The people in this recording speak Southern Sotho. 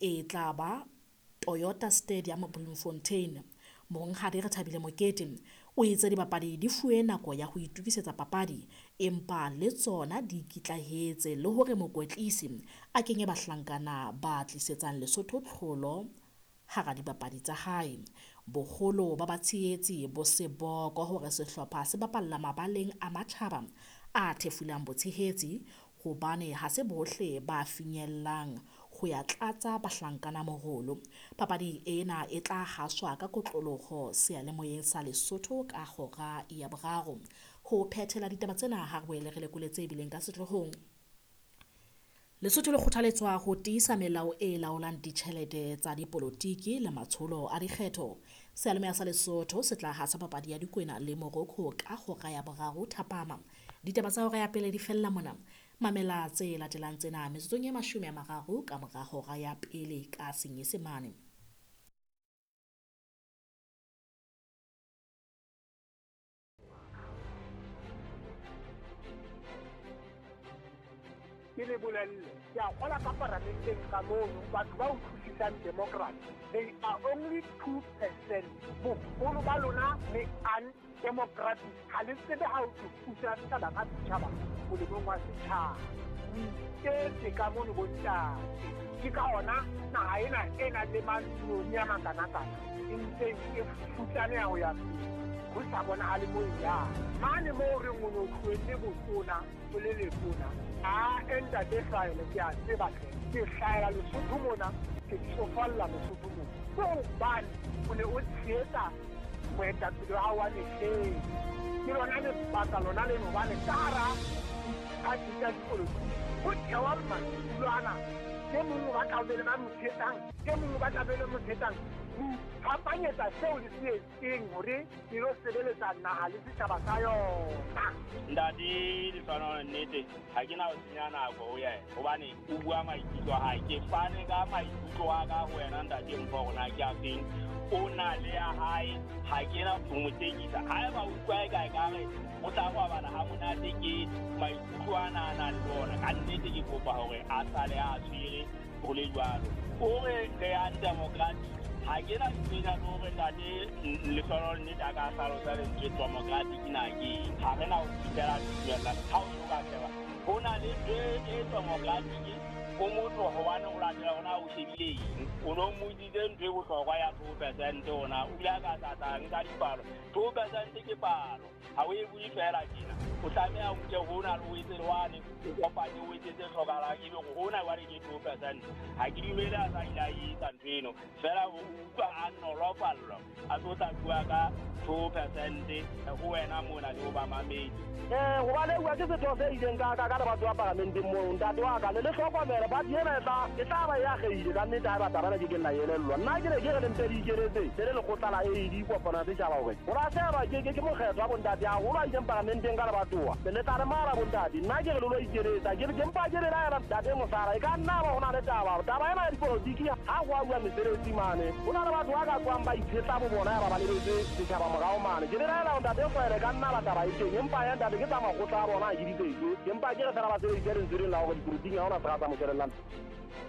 E tla ba Toyota Stadium Bloemfontein. Monghadi Rethabile Mokete o itse dibapadi di fuwe nako ya ho itokisetsa papadi empa le tsona di ikitlahetse le hore mokwetlisi a kenye bahlankana ba tlisetsang Lesotho tlholo hara dibapadi tsa hae. Boholo ba batshehetsi bo seboko hore sehlopha se bapalla mabaleng a matjhaba a thefulang botshehetsi hobane ha se bohle ba finyellang ho ya tlatsa bahlankana morolo. Papadi ena e tla haswa ka kotloloho seyalemoyeng sa Lesotho ka hora ya 3. Ho phethela ditaba tsena ha re boele re lekole tse bileng ka sehloohong. Lesotho le kgothaletswa ho tiisa melao e laolang ditjhelete tsa dipolotiki le matsholo a dikgetho. Seyalemoya sa Lesotho se tla hasa papadi ya Dikwena le Morocco ka hora ya 3 thapama. Ditaba tsa hora ya pele di fella mona. Mamela tse latelang tsena metsotsong e 30 ka mora hora ya pele ka Senyesemane. Ke le bolelle, ke a kgola ka paramenteng ka mono, batho ba utlwisisang democracy, they are only 2%. Boholo ba lona le undemocratic, ha le tsebe ha o thusa setjhaba ka setjhaba molemong wa setjhaba. O iketse ka mono bontate. Ke ka hona naha ena e nang le mantsione a makanakana e ntseng e futsaneha ho ya pele, ho sa bonahale moo e yang. Mane moo re o no tlohelle botona o le letona, a ntate Hlwaele ke a tseba hle, ke hlahela Lesotho mona, ke tsofalla Lesotho mona. Ke hobane o ne o tshehetsa moetapele wa hao wa mehleng. Ke lona lebaka lona leno hobane ka hara diphathi tsa dipolotiki ho thewa maikutlo ana. E mong o batla ho be le ba mo tshehetsang, e mong o batla be le mo tshehetsang. Ho iphapanyetsa seo le se etseng hore e lo sebeletsa naha le setjhaba sa yona. Ntate Lehlohonolo, nnete ha ke na ho senya nako ho yena hobane o bua maikutlo a hae. Ke fane ka maikutlo a ka ho wena ntate Mpho hore na ke a feng. O na le ya hae, ha ke na ho mo tekisa. Haeba o utlwa eka ekare o tla robala ha monate ke maikutlo ana a nang le ona, ka nnete ke kopa hore a sale a tshwere ho le jwalo. O re re undemocratic, ha ke na ntho le hore ntate Lehlohonolo nnete a ka hlalosa lentswe democratic na ke eng. Ha re na ho fihlela tumellano. Ha o so ka sheba, ho na le ntho e democratic o motho hobane o latela hore na o shebile eng. O no mmotsitse ntho e bohlokwa ya 2% hona, o ile a ka tla nka dipalo. 2% ke palo, ha o e bue feela tjena. O tlameha o nke hona le o etse le wane, o kopanye o etse tse hlokahalang, ebe hore hona jwale ke 2%. Ha ke dumele a sa ile a etsa ntho eno, feela o utlwa a nolofallwa a tlo tla bua ka 2% ho wena mona le ho bamamedi. Hobane bua ke setho se ileng ka lebatho wa paramenteng moo, ntate wa ka le le hlokomele party ena e tla ba e akgehile ka nnete haeba taba ena ke keng la elellwa. Nna ke ne ke re le mpe le ikeletse le le lekgotla la AD kopano ya setjhaba hore ho lahlehelwa ke mokgetho wa bontate haholo a ileng paramenteng ka lebatowa. Le tla re mara bontate, nna ke re le lo ikeletsa, ke mpa ke belaela ntate Mosala, e ka nna ba ho na le taba. Taba ena ya dipolotiki ha ho a bua mesebetsi mane, ho na le batho ba ka tswang ba itshetla bo bona ya ba ba lebetse setjhaba morao mane. Ke belaela hore ntate Hlwaele ka nna ba taba e teng, empa ya ntate ke tsa makgotla a bona ha ke di tsebe. Ke mpa ke re fela ba sebedise lentswe lena la hore dipolotiking ha hona sera sa moshwelellang.